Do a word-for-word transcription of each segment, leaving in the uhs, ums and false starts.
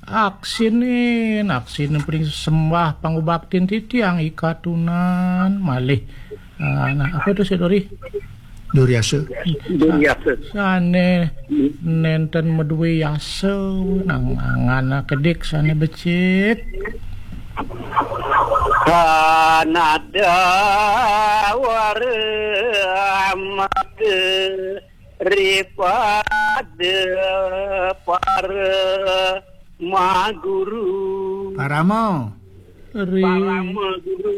Aksin, aksin pring sembah pangubaktin titiang i katunan malih. Ah, nah, apa tu, Sik Dori? Duriasa. Duriasa. Sane nenten madue yasa, nang angan kedik sane becik. Kanada wara mata ripada para maguru. Parama. Ri- Parama guru.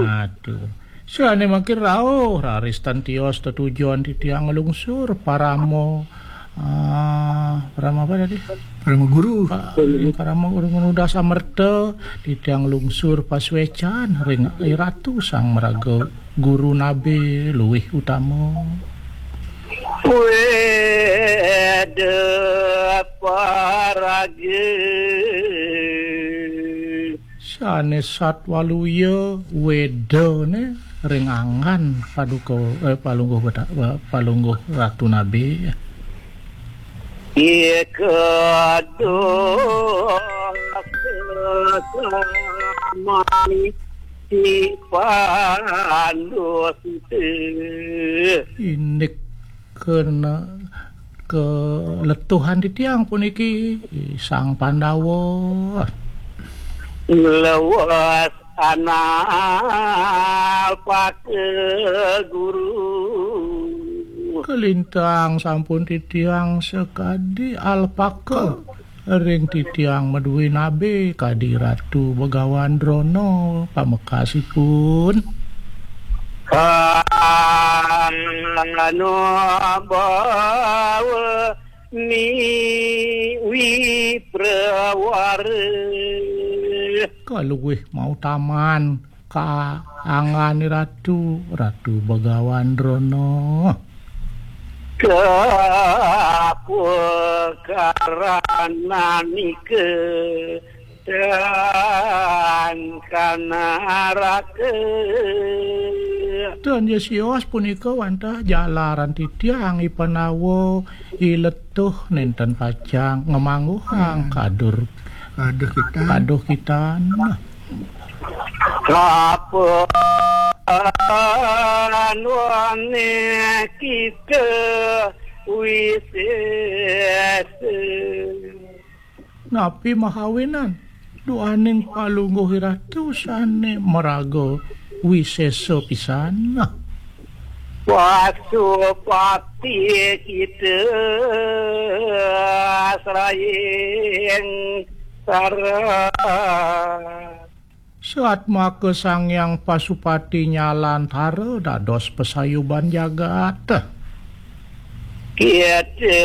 Aduh. Sane makin rauh, raris tan tios tetujon titiang nglungsur parama. Ah, parama apa tadi? Parama guru. Pa-, parama guru nunas amerta, titiang nglungsur pasuecan ring Iratu Sang Maraga Guru Nabe luwih utama. Weda paraga. Sane satwaluya wedane ring angan paduka, eh, palungguh beta-, eh, palungguh Ratu Nabe. Ika dosa samani si pandusta. Indik kena keletuhan titiang puniki, Sang Pandawa. Lewas anal pake guru. Kalintang sampun titiang sakadi alpaka ring titiang madue nabe kadi Ratu Begawan Drona pamekasipun. Anu bawa ni wiprawara. Kaluwih mautaman kaangane Ratu, Ratu Begawan Drona. Kapekaranika dan kanaraka. Tan ya sios punika wantah jalaran titiang i Pandawa i Letuh nenten pacang ngamangguhang kadur. Kaduh kitan. Kaduh kitan. Kapan wane kita wisesa. Napi mahawinan duaning palungguh Ratu sane maraga wisesa pisan? Pasupati kita srayeng sara. Satmaka Sang Hyang Pasupati nyalantara dados pasayuban jagat. Kita